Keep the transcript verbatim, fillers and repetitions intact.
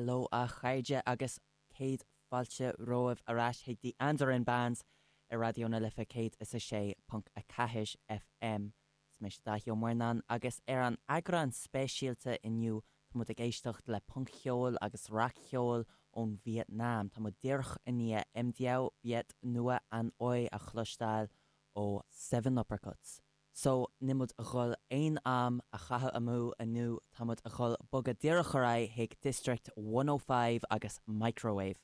Hello a chairde agus céad fáilte romhaibh ar ais chuig The Andarin Bands ar Raidió na Life céad is a sé ponc a ceathair FM. Is mise Daithí Ó Muirneáin agus ar an eagrán speisialta inniu tá muid ag éisteacht le punc-cheol agus rac-cheol ón Vietnam. Tá muid díreach i ndiaidh Em Đéo Viet Nua An Oi a chloisteáil ó Seven Uppercuts. So níl muid a dhul aon am a chaitheamh amú inniu tá muid a dhul bogadh díreach ar aghaidh chuig District one oh five agus Microwave.